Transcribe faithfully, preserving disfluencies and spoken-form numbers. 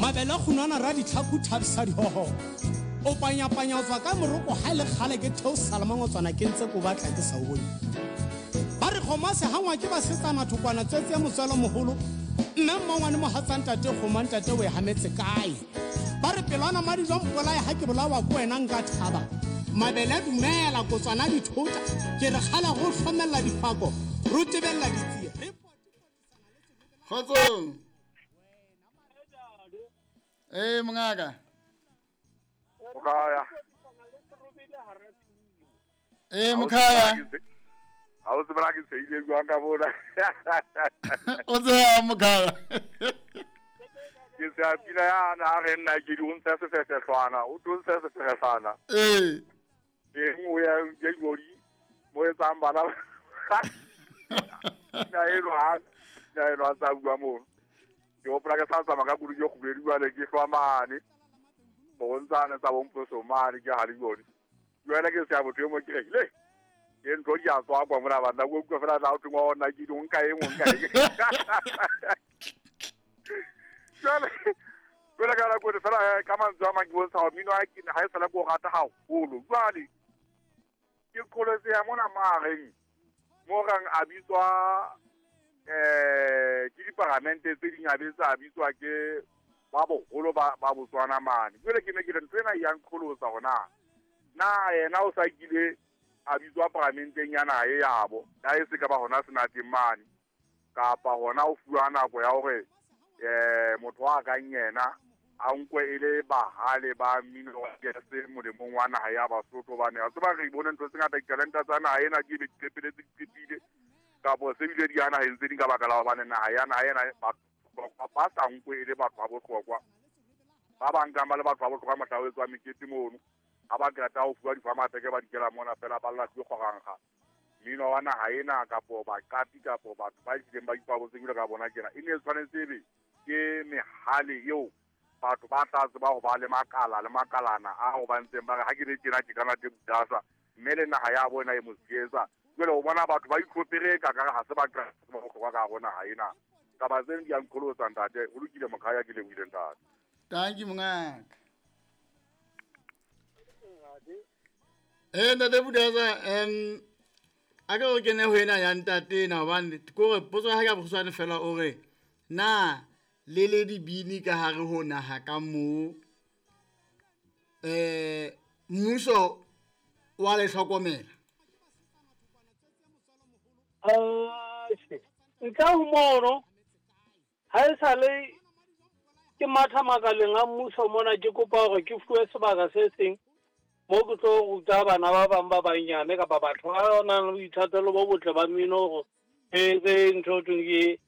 Mabele kgunwana ra ditlhaku thabisa dihoho. O panyapanya o tswa ka moroko ha le kgale ke theosa le mangotswana ke ntse ko batla ke sa o bone. Ba re kgomo se hangwa ke basetsana thokwana tswetse ya motswalo moholo. Mme mmangwane mohatsa ntate kgomo ntate o e hametse kae? Ba re pelwana madi jwa mpolae ha ke bolawa ke wena nka thaba. Mabele dumela kotswana dithota ke re kgala go hlomella difako ro tebella ditsie. Kgotsong. Eh mongaka. Mokhaya. Eh mokhaya. Ha o tsebra ke seile jwang ka bona. O tseba mokhaya. Ke se pina ya na re nna ke di o ntsha sefehlwana, o tlo ntsha sefehlwana. Eh. E nngwe ya ke gori mo etsang bana. Na e lwa, na e lwa tsa bua mo. Ke hopola ke sa tsamaya ka koloi e kgubedu jwale ke hlwa mane. Bo ntsana tsa bomphoso mane ke ha di gori. Jwale ke se a botho mo ke re le. Ke ntho di a tswa kwa mona bana go utlwa fela tla o thongwa ona ke di nka eng nka eng. Jwale jwale ka nako fela ka mantswe a mang ke bontsha hore mmino ha ke ha e sala ko rata haholo. Jwale ke qholetse ya mona mareng mo rang a bitswa eh ke diparamente tse ding a betsa a bitswa ke ba boholo ba ba Botswana mane. Jwale ke ne ke re ntho ena e ya nqholotsa hore na na yena o sa kile a bitswa paramenteng ya naha e yabo ya e se ka ba hona senateng mane kapa hona o fuwa nako ya hore eh motho wa kang yena a nkwe e le bahale ba mmino wa jazz molemong wa naha ya Basotho bane a tseba re bone ntho tse ngata ditalenta tsa naha ena ke be di qetelletse di qetile kapo se bile di ya naheng tse ding ka baka la hobane naha ya naha ena batho ba sa nkwe e le batho ba bohlokwa ba bang ka ba le batho ba bohlokwa mohla o etswa mekete mono ha ba qeta ho fuwa difamateke ba dikela mona fela ba lla ke kgorangga mmino wa naha ena kapo baqapi kapo batho ba ileng ba ipabotseng jwalo ka bona tjena e ne e tshwanetse ebe ke mehale eo batho ba tla tseba ho ba le makala le makalana a ho ba ntseng ba re ha ke le tjena ke kana te budasa mme le naha ya bona e mo sietsa. Jwale o bona batho ba itlhopere ka ka ha se ba ba bohlokwa ka bona ha ena taba tseno di a nqholotsa ntate. Ho lokile mokhaya ke lebohile ntate. Thank you mongaka. Eh ntate Budasa em a ke o kene ho ena ya ntate na hobane ke hore potso ya ka bokgutshwane fela o re na le le dibini ka hare ho naha ka mo eh mmuso wa le hlokomela? Eh nka ho mono ha e sale ke matha makaleng a mmuso mona ke kopa hore ke fuwe sebaka se seng mo ke tlo ruta bana ba bang ba banyane kapa batho ba nang le boithatelo bo botle ba mmino hore e etse ntho e thweng ke